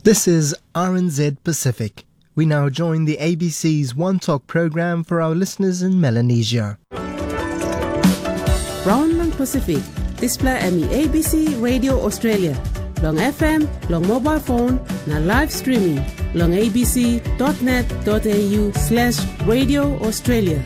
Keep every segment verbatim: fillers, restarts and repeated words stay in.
This is R N Z Pacific. We now join the A B C's One Talk program for our listeners in Melanesia. Raun long Pasifik, dispela em i A B C Radio Australia, long F M, long mobile phone, na live streaming long A B C dot net dot A U slash Radio Australia.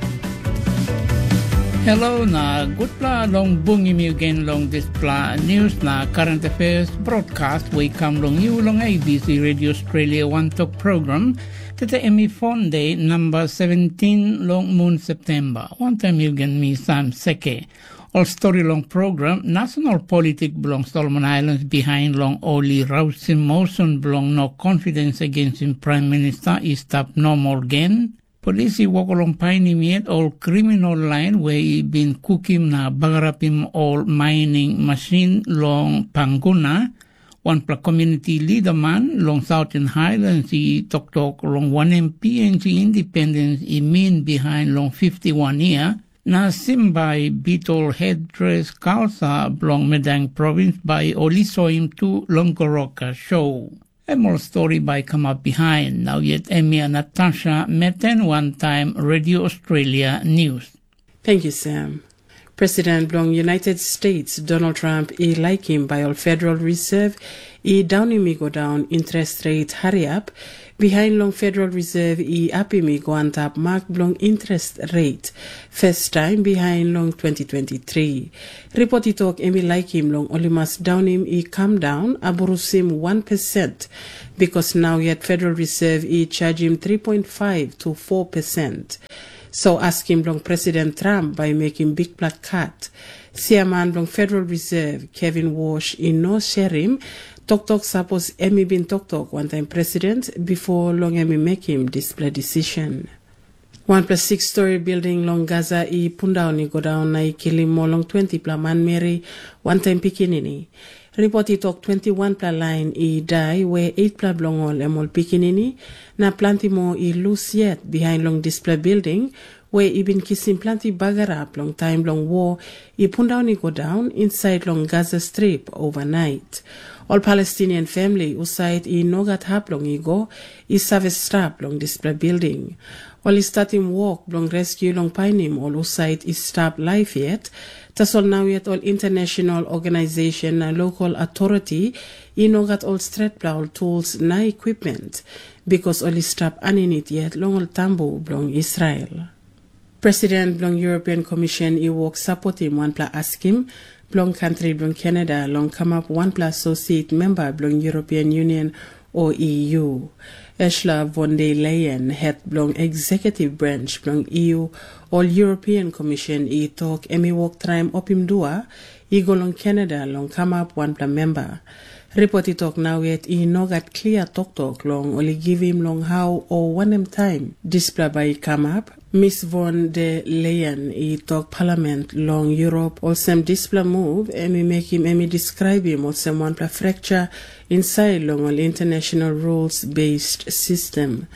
Hello na gutpela long bungim yu gen long dispela news na current affairs broadcast we i kam long yu long A B C Radio Australia One Talk program. Tete em i Fonde namba seventeen long mun Septemba. Wantaim yu gen mi Sam Seke. Ol stori long program, nasional politik bilong Solomon Islands bihain long ol i rausim motion bilong no confidence against Prime Minister i stap normal gen. Polis i wok long painim yet ol kriminal lain we i bin kukim na bagarapim ol mining masin long Panguna. Wanpela community liderman long Southern Highlands i toktok long wanem P N G independence i min bihain long fifty-one year, na Simbai Beetle Headdress Kalsa bilong Medang Provins bai ol i soim tu long Goroka show. Em ol stori bai kamap bihain. Nau yet em ia Natasha Meten wantaim Radio Australia News. Thank you, Sam. President bilong United States, Donald Trump, i laikim bai ol Federal Reserve i daunim i go daun interest rate hariap, bihain long Federal Reserve i apim i go antap mak bilong interest rate, first time bihain long twenty twenty-three. Report i tok em i laikim long ol i mas daunim i kam daun aburusim one percent, because nau yet Federal Reserve i chargim three point five to four percent. So askim bilong President Trump bai mekim bikpela kat. Siaman bilong Federal Reserve, Kevin Walsh, i no serim toktok sapos em i bin toktok wantaim president bipo long em i mekim dispela decision. Wanpela six-story building long Gaza i pundaun i go daun na i kilim moa long twentipela manmeri wantaim pikinini. Ripot i tok twenti wanpela lain i dai, we eitpela bilong ol em ol pikinini, na planti moa i lus yet bihain long dispela building, we i bin kisim planti bagarap long taim bilong wo i pundaun i go daun insait long Gaza Strip overnight. Ol Palestinian famili husat i no gat hap long i go, i save stap long dispela building. Ol i statim wok bilong rescue long painim ol husat i stap laip yet, tasol nau yet ol international organization na local authority i no gat ol stretpela ol tools na equipment, because ol i stap aninit yet long ol tambu bilong Israel. President bilong European Commission i wok sapotim wanpela askim bilong kantri bilong Canada long kamap wanpela associate member bilong European Union, o E U. Ursula von der Leyen, het bilong executive branch bilong E U, ol European Commission, i tok em i wok traim opim dua i go long Canada long kamap wanpela memba. Ripot i tok nau yet i no gat klia toktok long ol i givim long hau o wanem taim dispela bai i kamap. Miss von der Leyen i tok Palament long Europe olsem dispela move em i mekim em i deskraibim olsem wanpela fracture insait long ol international rules-based system.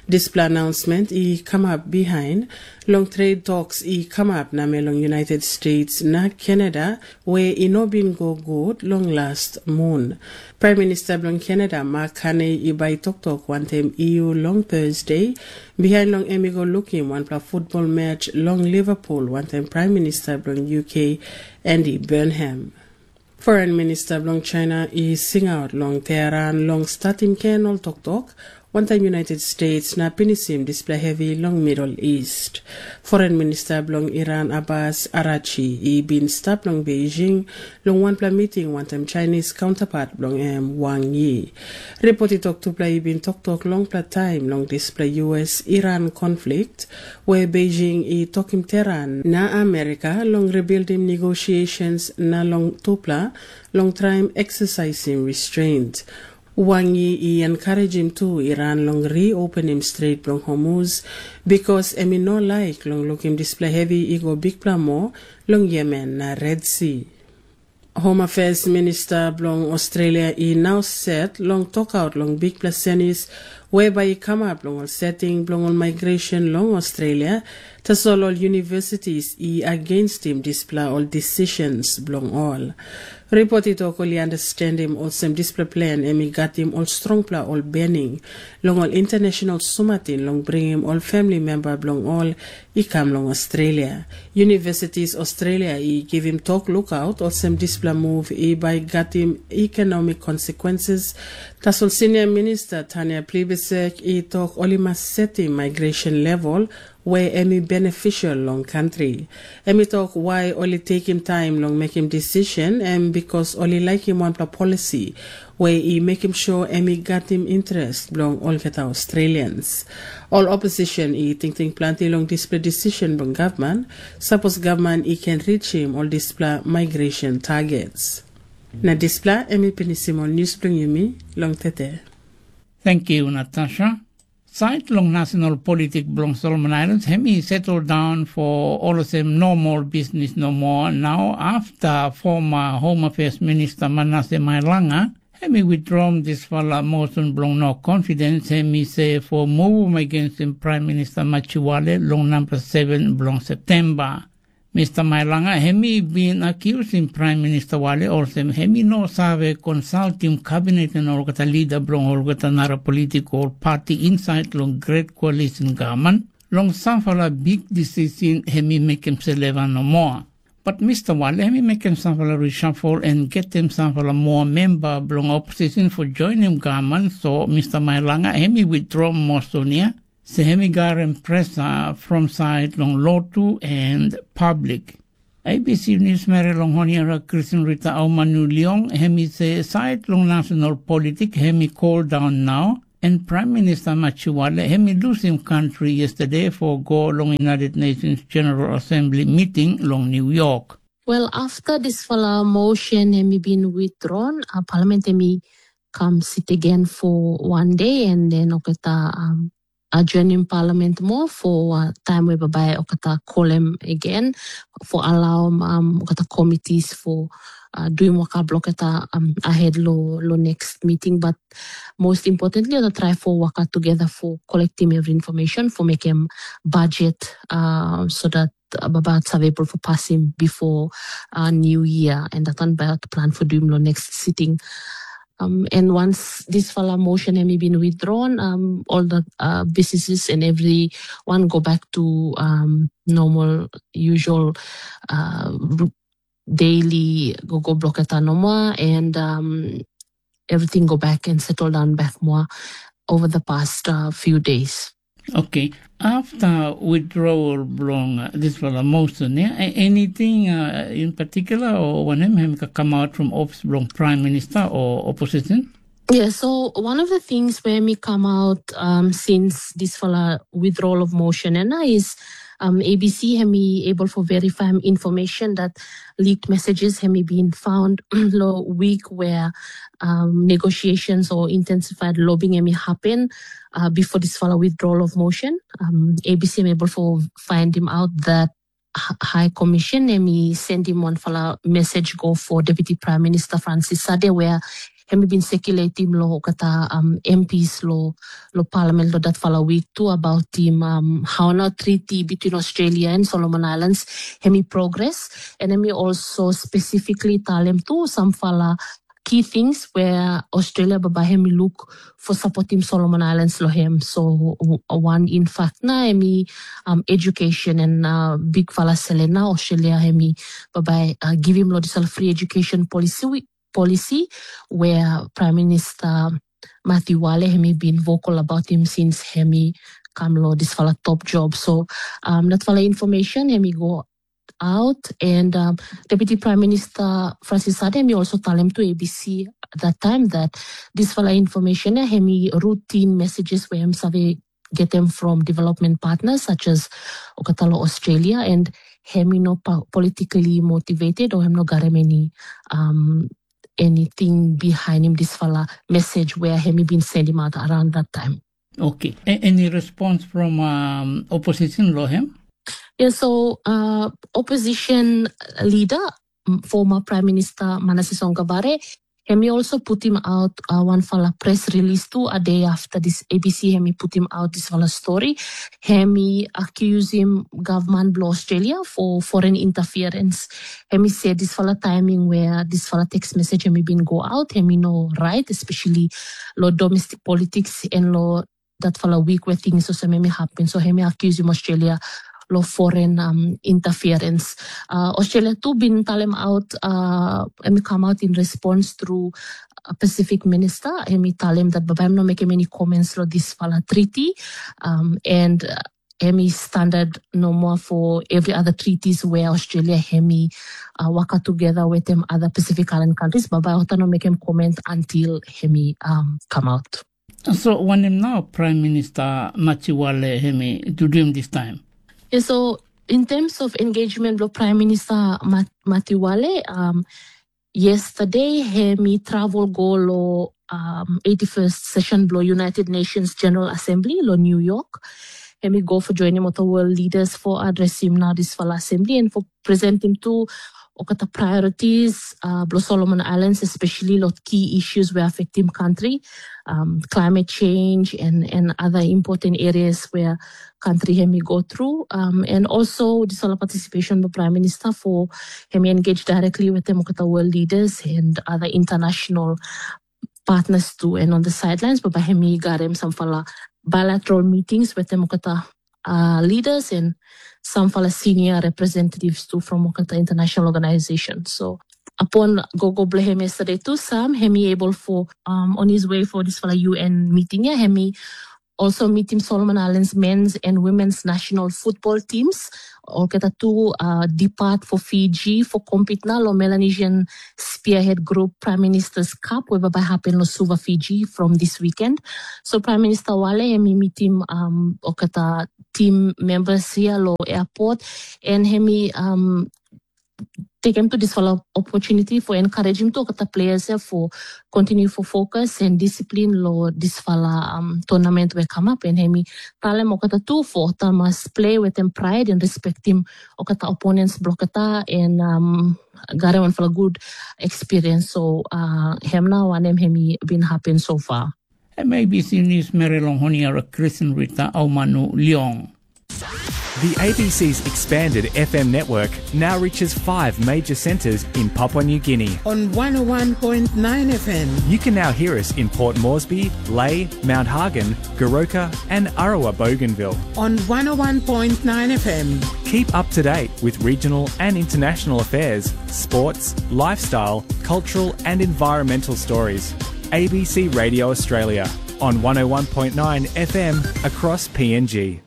Dispela announcement i kamap bihain long trade talks i kamap namel long United States na Canada, we i no bin go gut long last mun. Prime Minister bilong Canada, Mark Carney, i bai toktok wantaim E U long Thursday, bihain long em i go lukim wanpela football match long Liverpool wantaim Prime Minister bilong U K, Andy Burnham. Foreign Minister bilong China i singaut long Tehran long statim gen ol toktok wantaim United States na pinisim dispela hevi long Middle East. Foreign Minister bilong Iran, Abbas Arachi, i bin stap long Beijing long wanpela miting wantaim Chinese counterpart bilong em, Wang Yi. Ripot i tok tupela i bin toktok longpela taim long dispela U S Iran konflikt, we Beijing i tokim Tehran na Amerika long rebildim negotiations na long tupela long traim exercisim restraint. Wang Yi i enkarejim tu Iran long reopenim Stret bilong Hormuz, bikos em i no laik long lukim dispela hevi i go bikpela moa long Yemen na Red Sea. Home Affairs Minista bilong Australia i nau set long tokaut long bikpela senis we bai i kamap long ol setting bilong ol migration long Australia, tasol ol universities i agenstim dispela ol decisions bilong ol. Ripot i tok ol i understandim olsem dispela plan em i gatim ol strongpela ol bening long ol international sumatin long bringim ol family member bilong ol i kam long Australia. Universities Australia i givim tok lukaut olsem dispela move i bai gatim economic consequences. Tasol senior minister Tanya Plibersek i tok ol i mas setim migration level we em i beneficial long kantri. Em i tok wai ol i tekim taim long mekim decision em because ol i laikim wanpela policy we i mekim sure em i gatim interest bilong olgeta Australians. Ol opposition i tingting planti long dispela decision bilong gavman, sapos gavman i ken reachim ol dispela migration targets. Na dispela em i pinisim ol news bilong yumi long tete. Thank you, Natasha. Sait long national politik bilong Solomon Islands, em i settle down for olsem no more business no more now after former Home Affairs Minister Manasseh Mailanga, em i withdraw dispela motion bilong no confidence, em i say for move against Prime Minister Machiwale long number seven bilong September. Mister Mailanga, em i bin akiusim Prime Minister Wale olsem em i no save konsaltim kabinet na olgeta lida bilong olgeta nara politikal pati insait long Great Coalition gavman long sampela bik decision em i mekim seleva nomo. But Mister Wale em i mekim sampela reshuffle en getem sampela moa memba bilong opposition for joinim gavman, so Mister Mailanga em i withdraw motion ya, se em i garim presa from sait long lotu en publik. A B C News meri long Honiara Kristin Rita Aumanu Leong, em i se sait long national politik em i cool down nau, en Prime Minister Machiwale em i lusim kantri yesterday for go long United Nations General Assembly meeting long New York. Wel, afta dispela motion em i bin withdrawn, uh, parliament em i kam sit again for one day, and then oketa um, adjourning parliament mo for uh, time we babai oketa kolem again for allow um, oketa committees for uh, doing waka bloketa um, ahead lo, lo next meeting. But most importantly, oketa try for waka together for collecting every information for making budget uh, so that about save able for passing before uh, New Year, and that one about plan for doing the next sitting. Um, and once this fala motion has been withdrawn, um, all the uh, businesses and everyone go back to um, normal, usual uh, daily go go block at Anoma, and um, everything go back and settle down back more over the past uh, few days. Okay. After withdrawal bilong uh, this fellow motion, yeah, anything uh, in particular or wanem hem ka come out from office bilong prime minister or opposition? Yeah, so one of the things where me come out um, since this fellow withdrawal of motion and is um, A B C hemi able for verify information that leaked messages hemi been found lo week where um, negotiations or intensified lobbying hemi happen uh, before this fellow withdrawal of motion. Um, A B C hemi able for find him out that High Commission hemi send him one fellow message go for Deputy Prime Minister Francis Sade where hemi bin circulate him lo kata um, M Ps lo lo parliament lo that fellow week too about him um, how na treaty between Australia and Solomon Islands hemi progress, and hemi also specifically tell him too some fellow key things where Australia baba hemi look for supporting Solomon Islands lo him. So one in fact na hemi um, education and uh, big fala selena Australia hemi baba uh, give him lo this free education policy policy where Prime Minister Matthew Wale hemi been vocal about him since hemi come lo this fala top job. So um, that fala information hemi go out and um, Deputy Prime Minister Francis Sade hemi also tell him to A B C at that time that this fala information hemi routine messages where him save get them from development partners such as Okatalo Australia and hemi no politically motivated or him no got him any um, anything behind him this fala message where hemi been send him out around that time. Okay. A- any response from um, opposition lo him? Yeah, so uh, opposition leader, former Prime Minister Manasseh Songabare, Em i also putim out uh, wanfala press release tu a day after this A B C em i putim out this fala story. Em i accusing government bilong Australia for foreign interference. Em i say this fala timing where this fala text message em i bin go out, em i no right, especially lo domestic politics and lo dat fala week where things also maybe happen. So em i accusing Australia lo foreign um, interference. Uh, Australia tu bin talem out, uh, em i come out in response through a Pacific minister. Em i talem that baba em no make any comments lo this fala treaty. Um, and uh, em i standard no more for every other treaties where Australia em i uh, work together with them other Pacific Island countries. Baba ota no make him comment until em i um, come out. So wanem nau Prime Minister Matiwale em i duduim this time? Yeah, so in terms of engagement lo Prime Minister Mat- Matiwale, um, yesterday em i travel go lo um, eighty-first session blo United Nations General Assembly lo New York. Em i go for joining with the world leaders for addressing now this fala assembly and for presenting to okata priorities uh, blo Solomon Islands, especially lo key issues where affecting country, um, climate change and, and other important areas where country hemi go through. Um, and also this all participation by Prime Minister for hemi engage directly with them okata world leaders and other international partners too and on the sidelines, but by hemi got him some fala bilateral meetings with them okata uh, leaders and some fala senior representatives too from okata international organization. So upon gogo blame him yesterday too, Sam hemi able for um, on his way for this fala U N meeting. Yeah, hemi also meet him Solomon Islands men's and women's national football teams. Olketa tu uh, depart for Fiji for compete na lo Melanesian Spearhead Group Prime Minister's Cup, weba bai happen lo Suva, Fiji from this weekend. So Prime Minister Wale hemi meet him um, okata team members here lo airport and hemi um, take him to this fala opportunity for encourage him to okata players here for continue for focus and discipline lo this fala um, tournament we come up and hemi talem okata tu for okata must play with them pride and respect him okata opponents blokata and um, gare one fala good experience. So uh, him now and him hemi been happen so far. M A B C News Mary Longhoniara Kristen Rita Aumanu Leong. The A B C's expanded F M network now reaches five major centres in Papua New Guinea. On one oh one point nine F M. You can now hear us in Port Moresby, Lae, Mount Hagen, Goroka, and Arawa Bougainville. On one oh one point nine F M. Keep up to date with regional and international affairs, sports, lifestyle, cultural, and environmental stories. A B C Radio Australia on one oh one point nine F M across P N G.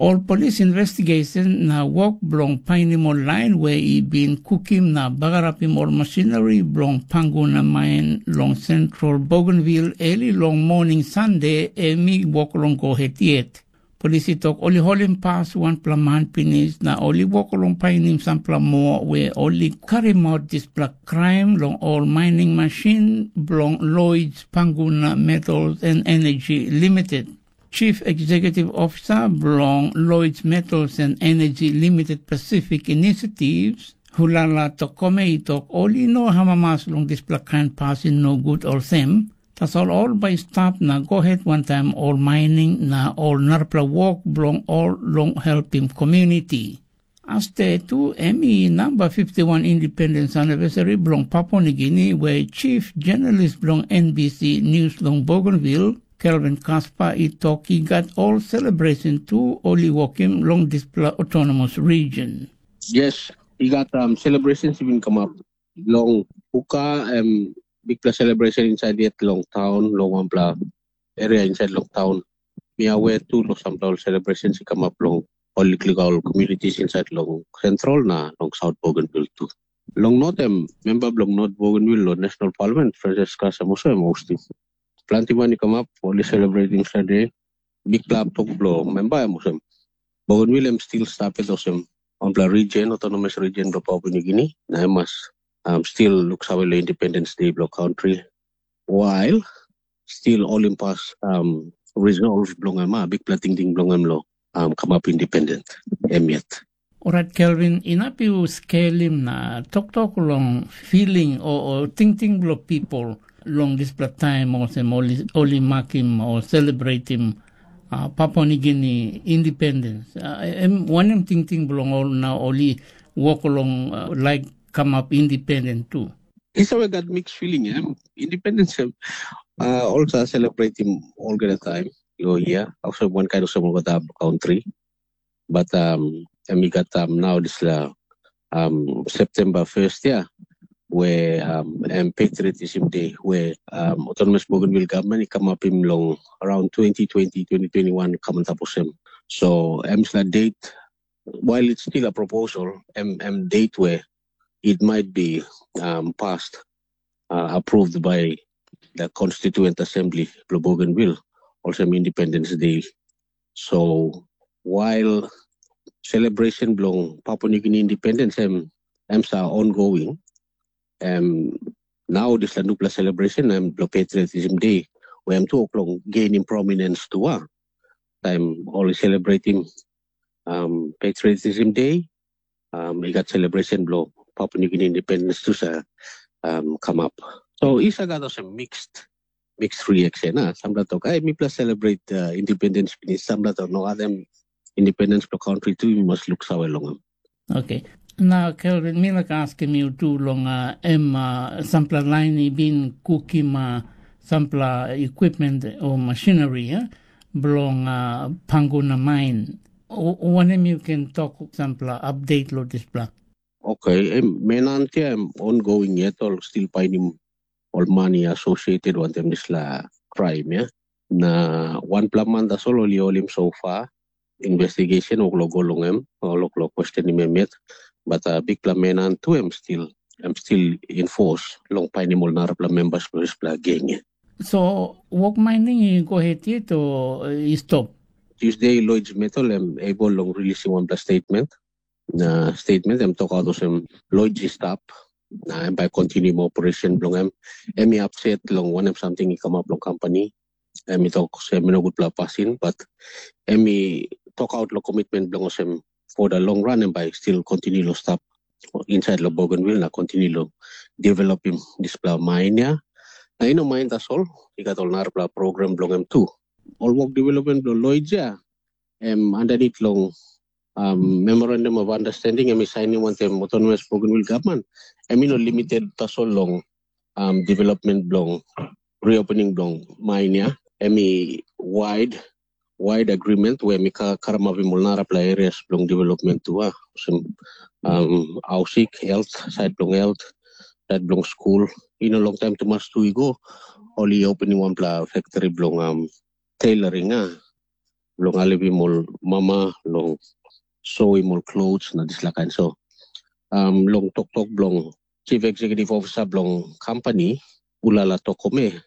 Ol polis investigesen na wok bilong painim ol lain we i bin kukim na bagarapim ol masineri bilong Panguna main long sentrol Bougainville eli long moning Sande, em i wok long go het yet. Polis i tok ol i holim pas wanpela man pinis na ol i wok long painim sampela moa we ol i karimap dispela kraim long ol mining masin bilong Lloyds Panguna Metals and Energy Limited. Chief Executive Officer bilong Lloyds Metals and Energy Limited Pacific Initiatives, Hulala Tokome i tok ol i no amamas long dispela kain pasin nogut olsem, tasol ol bai i stap na go het wantaim ol mining na ol narapela wok bilong ol long helpim komuniti. Aste tu em i namba fifty-one independence anniversary bilong Papua New Guinea, where chief journalist bilong N B C News long Bougainville, Kelvin Kaspa, i tok i gat ol celebration tu ol i wokim long dispela autonomous region. Yes, i gat um, celebrations i bin kamap long puka em bikpela celebration inside yet long town, long wanpela area inside long town. Mi aware tu long sampela ol celebrations i kamap long ol liklik ol communities inside long central na long South Bougainville tu. Long not em, member bilong North Bougainville lo National Parliament, Francis Kasem also em hosting. Planti man i kamap, ol i celebrating Sunday. Bikpela tok bilong member em olsem. Bougainville em still stap yet olsem. Wanpela region, autonomous region bilong Papua New Guinea, na em mas um, still look save long Independence Day bilong country. While still ol i pas um, resolve bilong em, ah, bikpela tingting bilong em lo um, kamap independent em yet. Orait Kelvin, inap yu skelim na toktok long filing o, o tingting bilong pipol long dispela taim olsem ol i, ol i makim o selebreitim uh, Papua Nigini independens. Uh, em wanem tingting bilong ol na ol i wok long uh, laik kamap independen tu? Isa we gat mix feeling em. Independence em uh, also celebrating olgeta time. Yo yeah, also one kind of some of the country. But um, em i gat um, nau dispela um, September first ya, we um, em patriotism day, we um, autonomous Bougainville government i kamapim long around twenty twenty, twenty twenty-one kamantap osem. So em dispela date, while it's still a proposal, em, em date we it might be um, passed, uh, approved by the Constituent Assembly bilong Bougainville, olsem Independence Day. So while celebration bilong Papua New Guinea independence em, em sa ongoing, em now dispela nupela celebration em bilong Patriotism Day, where em tu o'clock gaining prominence tu a. Time only celebrating um, Patriotism Day, um, i gat celebration bilong Papua New Guinea independence tu sa um, come up. So isa gat olsem mixed mixed reaction. Ah. Sampela tok, ai mipela celebrate uh, independence pinis, sampela tok, no, other independence bilong country tu, you must look sawe long them. Okay. Na Kelvin, mi laik askim yu tu long uh, em uh, sampela lain i bin kukim uh, sampela equipment o machinery eh, bilong uh, Panguna main. Wanem yu ken tok sampela update lo dispela? Okay, em, menantia em ongoing yet ol still painim ol mani associated wantaim dispela crime ya. Na wanpela man tasol ol i holim so far, investigation ol go long em, ol go questionim em yet. But uh, bikpela menan tu em still em still in force long painim ol narapela members bilong dispela geng ya. So wok mining i go het yet o i stop? Tuesday Lloyd Metal em able long releasing wanpela statement. Na statement em tokaut olsem Lloyd i stap na em bai kontinium operation bilong em. Em i upset long wanem samting i kamap long company. Em i tok olsem em i no gutpela pasin, but em i tokaut long komitmen bilong olsem for the long run em bai still continue long stap inside long Bougainville na continue long developim dispela main ya. Na i no main tasol, i gat ol narapela program bilong em tu. Ol wok development bilong Lloyd ya, em underneath long um, memorandum of understanding em i sainim wantaim autonomous Bougainville government, em i no limited tasol long um, development bilong reopening bilong mine ya. Em i wide wide agreement we mi karamapim ol narapela areas bilong development tu a, olsem um, ausik, health, side bilong health, side bilong skul. I no long taim tumas tu i go, ol i opening wanpela factory bilong um, tailoring a, bilong alivim ol mama long soim ol klos na dispela kain. So um, long toktok bilong chief executive officer bilong company, Ulala Tokome,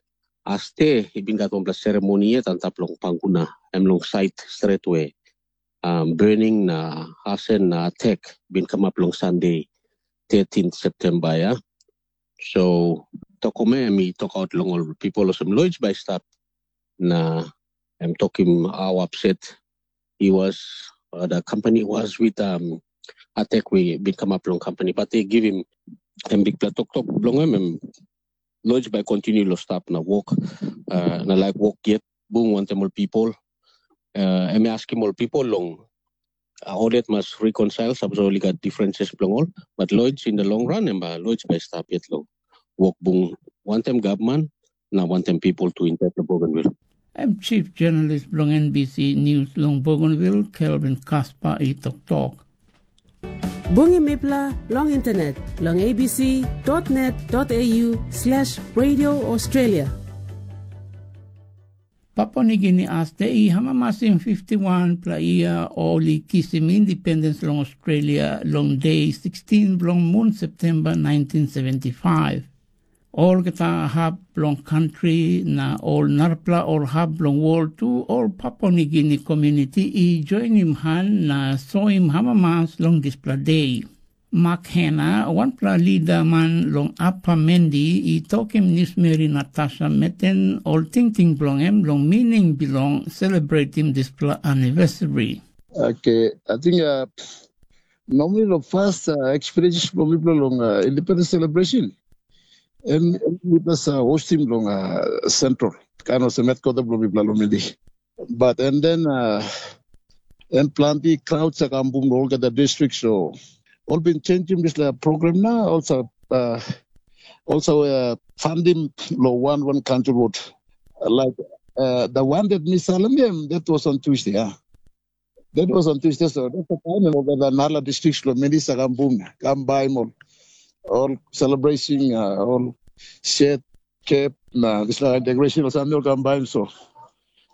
aste i bin gat wanpela seremoni yet antap long Panguna, em long sait stret we um, burning na hasen na attack bin kamap long Sunday thirteenth September ya. So Tokome em i tokaut long ol people olsem Lloyd bai stap na em tokim how upset he was, uh, the company was with um, attack we bin kamap long company, but they give him em bikpela toktok bilong em, em Lloyd bai continue lo stap na wok, uh, na laik wok yet bung wantaim ol people. Uh, em i askim ol people long uh, ol yet mas reconcile, sapos ol i gat differences bilong ol, but Lloyd in the long run em bai Lloyd bai stap yet long wok bung wantaim gavman na wantaim people tu inside the Bougainville. Em chief journalist bilong N B C News long Bougainville, Kelvin Kaspa i toktok. Bungim mipela long internet long A B C dot net dot A U slash Radio Australia. Papua Nigini as de i hamamasim fifty-one pela yia ol i kisim independens long Australia long de sixteen bilong mun Septemba nineteen seventy-five. Olgeta hap bilong kantri na ol narapela ol hap bilong wol tu ol Papua Nigini komuniti i joinim han na soim amamas long dispela de. Mak Hena, wanpela lidaman long Apa Mendi, i tokim newsmeri Natasha Meten ol tingting bilong em long mining bilong selebretim dispela anivesari. Okay, I think uh, Normally long first uh, experiences bilong mipela long uh, independence celebration, em mipela sa hostim long uh, central, kind of headquarter bilong mipela long Mindi. But and then uh, em planti crowd sa kam bum long olgeta district, so ol bin changim dispela program na also uh, also uh, fundim lo one one council road like uh, the one that Miss Salam, that was on Tuesday. Yeah. That was on Tuesday, so that's the time of the Nala district lo many sa kam bum, kam by mall, all celebrating, uh, all shed, cap, na this like decoration or something kam by so.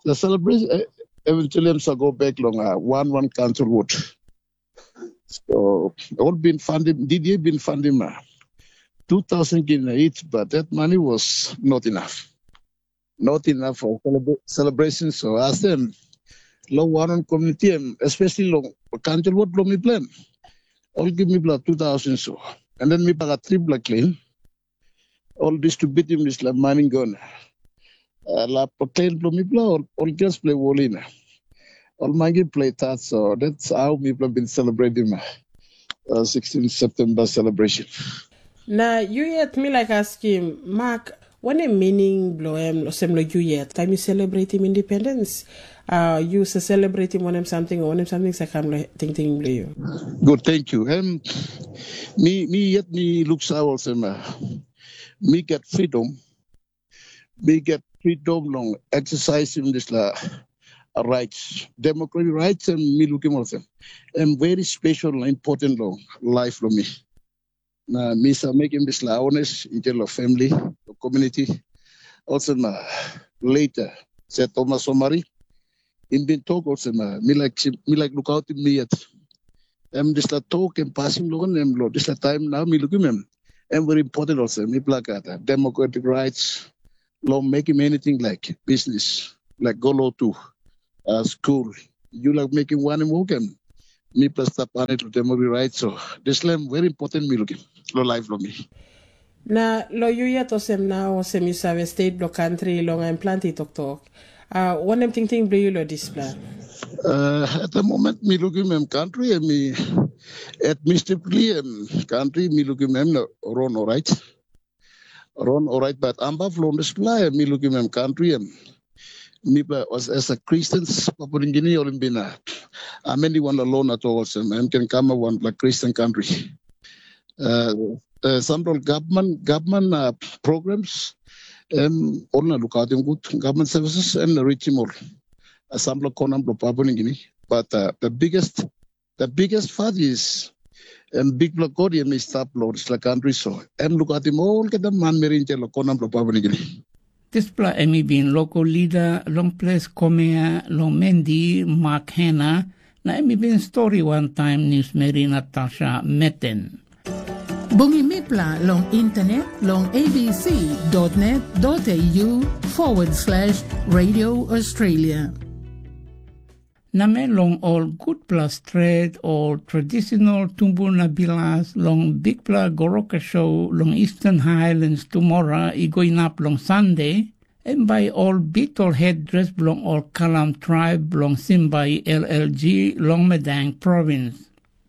The celebration uh, eventually I'm go back long uh, one one council road. So all been funded, D D A been funding uh, two thousand kina each, but that money was not enough. Not enough for celebra- celebration. So ask them, lo one on community, em, especially lo council road lo mi plan. All give me blood two thousand so. And then mi paga triple clean. All distributing this like mining gun. Uh, la plan lo mi blood, all girls play wolina. All mangi play that. So that's how people have been celebrating my uh, sixteenth September celebration. Na yu yet mi laik askim, Mak, wanem mining bilong em olsem long yu yet? Taim yu selebretim indipendens, uh, yu sa selebretim wanem samting o wanem samting sa kam long tingting bilong yu? Good, thank you. Um, mi, mi yet mi luksa olsem, uh, mi get freedom. Mi get freedom long exercising dispela rights, democratic rights, and mi lukim olsem. Em very special and important long life lo mi. Na mi sa mekim dispela awareness i tell of family, of community. Also na later, se Thomas Somari, in bin talk also na mi like mi like look out in me yet. Em dispela talk and passing lo nem lo dispela time now mi lukim em. Em very important also. Mi plak at democratic rights, lo making anything like business, like go lo to uh, school. You like making one and work em. Mi plus tap on it with memory right. So this lam very important mi looking lo life lo mi. Na lo yu yet olsem na olsem yu save state bilong country long em planti toktok. Uh, wanem tingting bilong yu lo dispela? Uh, at the moment mi looking em country and mi administratively em country mi looking em no run all right. Run all right, but ambaf long dispela em mi looking em country em. Mi pa as, as a Christians, Papua New Guinea, Olimbina. Ameni wan la loan at all, so em can come a one like Christian country. Uh, uh, some government government uh, programs, um, all na look out him good government services and reach him all. Uh, some konam lo Papua New Guinea, but uh, the biggest the biggest part is em bikpela God em i stap long dispela country so em lukatim olgeta manmeri insait long konam bilong Papua New Guinea. Dispela em i bin local leader long ples Komea long Mendi, Mark Hena, na em i bin stori wantaim niusmeri Natasha Meten. Bungim mipela long internet long abc.net.au forward slash radio Australia. Namel long ol gutpela stret ol tradisional tumbuna bilas long bikpela goroka show long Eastern Highlands tumora i go inap long Sande, em bai ol bit ol hetdres bilong ol kalam traib bilong Simbai L L G long Medang provins.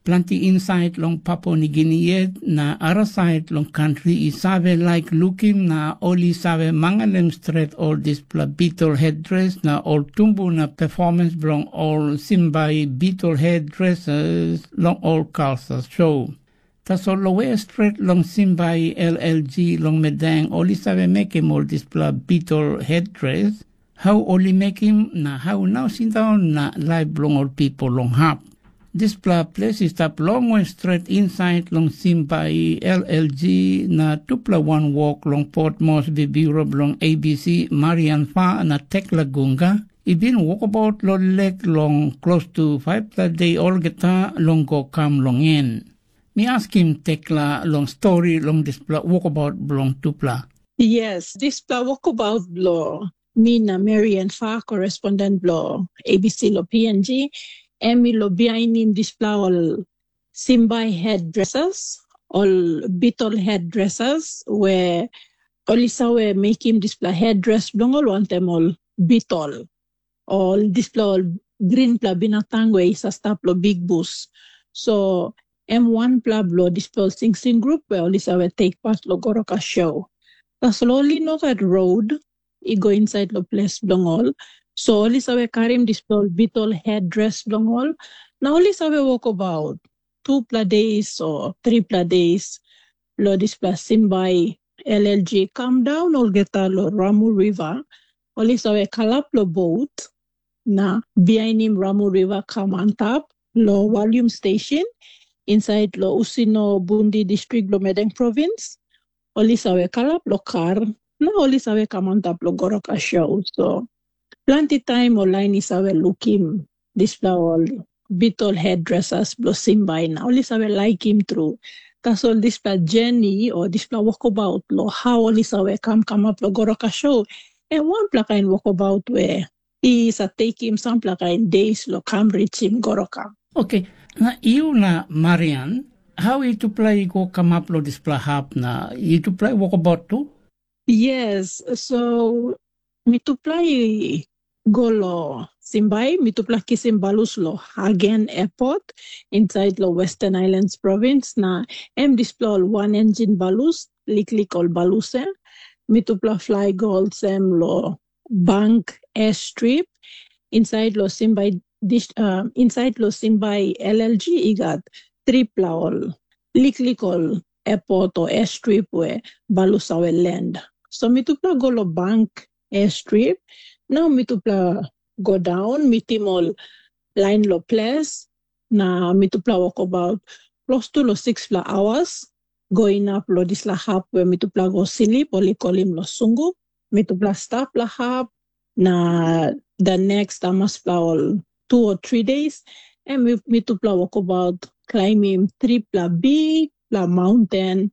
Planti insait long Papua Nigini yet na arasait long kantri i save laik lukim na ol i save manganem stret ol dispela bitol hetdres na ol tumbuna performance bilong ol Simbai bitol hetdreses long ol kalsa show. Tasol long we stret long Simbai L L G long Medang ol i save mekim ol dispela bitol hetdres, hau ol i mekim na hau nau sindaun na laip bilong ol pipel long hap. Dispela ples i stap longwe stret insait long Simbai L L G na tupela wanwok long Port Moresby Biuro bilong A B C Marian Fa na Tekla Gunga i bin wokabaut long lek long klostu faipela de olgeta long go kam long en. Mi askim Tekla long stori long dispela wokabaut bilong tupela. Yes, dispela wokabaut bilong mi na Marian Fa, correspondent bilong A B C lo P N G, em i lo bihainim dispela ol Simbai head dressers, ol bitol head dressers, we ol i save mekim dispela head dress bilong ol wantaim ol bitol, ol dispela ol grinpela binatang we i sa stap lo big bus. So em wanpela bilong dispela ol singsing grup we ol i save take part long Goroka show. Tasol ol i no gat rod i go insait long ples bilong ol. So ol i save karim dispela ol bitol headdress bilong ol, na ol i save wokabaut tupela days o tripela days long dispela Simbai L L G kam daun olgeta long Ramu River. Ol i save kalap long bot na bihainim Ramu River kam antap long Walyum Station insait long Usino Bundi distrik bilong Madang provins. Ol i save kalap long kar na ol i save kam antap long Goroka show. So planti taim ol lain i save lukim dispela ol bitol headdresses bilong Simbai na ol i save laikim tru. Tasol dispela journey o dispela wokabaut long hau ol i save kam kamap long Goroka show, em wanpela kain wokabaut we i sa tekim sampela kain days long kam richim Goroka. Oke, na yu na Marian, hau yutupela i go kamap long dispela hap na yutupela i wokabaut tu? Yes, so mitupela i go long Simbai, mitupela kisim balus long Hagen Airport insait long Western Islands Province, na em dispela ol wan engine balus, liklik ol balus em. Mitupela fly go olsem long Bank Airstrip insait long Simbai dis, uh, insait long Simbai L L G i gat tripela ol liklik ol airport o airstrip we balus save land. So mitupela go long Bank Airstrip, na mitupela go daun mitim ol lain long ples, na mitupela wokabaut klostu long sixpela hours go inap long dispela hap we mitupela go slip, ol i kolim long Sungu. Mitupela stap long hap, na the next amaspela ol two o three days, em mitupela wokabaut klaimim tripela bikpela maunten,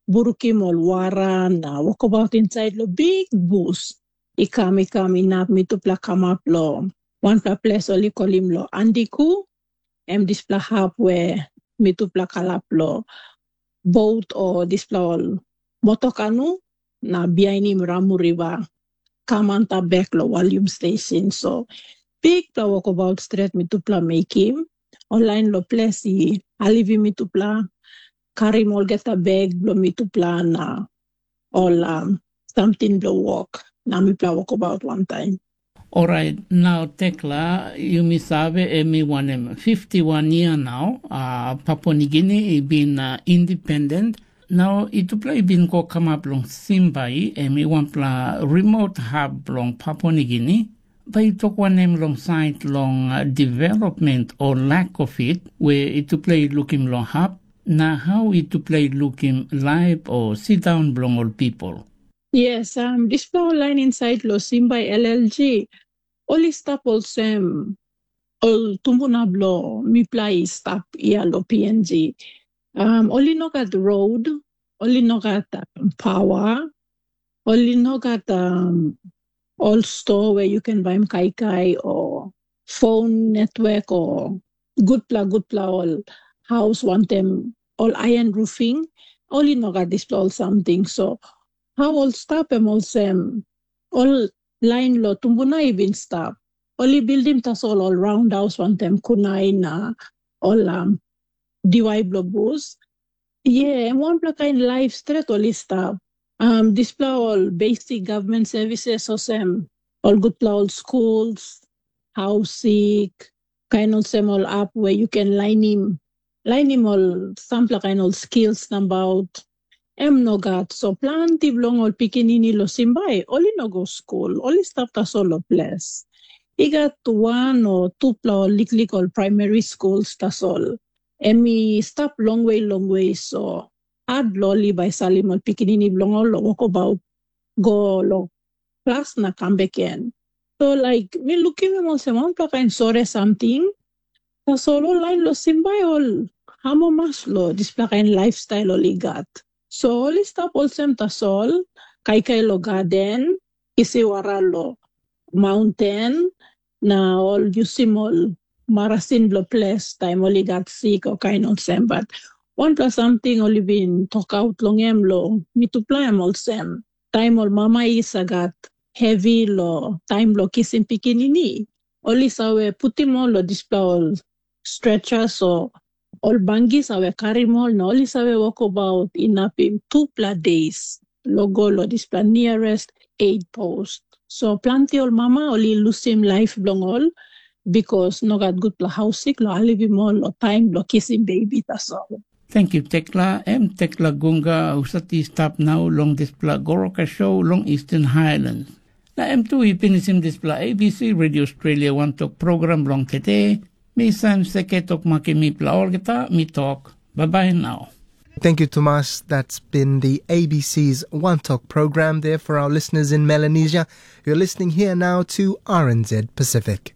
burukim ol wara na wokabaut insait long bik bus. I kam i kam inap mitupela kamap long wanpela ples ol i kolim long Andiku, em dispela hap we mitupela kalap long bot o dispela ol motokanu na bihainim Ramu Riva kam antap bek long Walyum Station. So bikpela wokabaut stret mitupela mekim. Ol lain long ples i alivim mitupela, karim olgeta bek bilong mitupela na ol um, samting bilong wok, na mipela wokabaut wantaim. Orait, nau Tekla, yumi save em i wanem fifty wan yia nau, uh, Papua Nigini i bin uh, independent. Nau yutupela i bin go kamap long Simbai, em i wanpela remote hap bilong Papua Nigini. Bai yu tok wanem long sait long uh, development o lack of it, we yutupela i lukim long hap, na hau yutupela i lukim laip o sindaun bilong ol pipel? Yes, um, dispela ol lain insait long Simbai L L G, ol i stap olsem ol tumbuna bilong mipela i stap ia long P N G. Um, ol i no gat rod, ol i no gat um, pawa, ol i no gat um, ol sto we yu ken baim kaikai o phone network o gutpela gutpela ol haus wantaim ol aian rufing, ol i no gat dispela ol samting. So hau ol stap em olsem, ol lain long tumbuna i bin stap. Ol i bildim tasol ol raundaus wantaim kunai na ol um, diwai bilong bus. Ye, em wanpela kain laip stret ol i stap. Um, dispela ol basic government services olsem, ol gutpela ol schools, hausik, kain olsem ol ap we yu ken lainim, lainim ol sampela kain ol skills nabaut, em no gat. So planti bilong ol pikinini long Simbai, ol i no go skul, ol i stap tasol long ples. I gat wan o tupela ol liklik ol primary schools tasol. Em i stap longwe longwe, so hat long ol i bai salim ol pikinini bilong ol long wokabaut, go long klas na kam bek gen. So laik mi lukim em olsem wanpela kain sore samting. Tasol ol lain long Simbai ol amamas long dispela kain lifestyle ol i gat. So ol i stap olsem tasol, kaikai long gaden, isi wara long maunten, na ol yusim ol marasin bilong ples taim ol i gat sik o kain olsem. Bat wanpela samting ol i bin tokaut long em long mitupela em olsem, taim ol mama i sa gat hevi long taim bilong kisim pikinini, ol i save putim ol long dispela ol stretchers o Ol bangis save karim ol na ol i save wokabaut inapim tupela deis long go long dispela niarest aid post. So planti ol mama ol i lusim laip bilong ol, bikos no gat gutpela hausik long helpim ol long taim bilong kisim bebi tasol. Tenkyu Tekla, em Tekla Gunga husat i stap nau long dispela Goroka show long Eastern Highlands. Na em tu i pinisim dispela A B C Radio Australia wantok program bilong tete. Mi Sam Seke tok makim mipela olgeta, mi tok, bye bye now. Thank you, Tomas. That's been the A B C's One Talk program there for our listeners in Melanesia. You're listening here now to R N Z Pacific.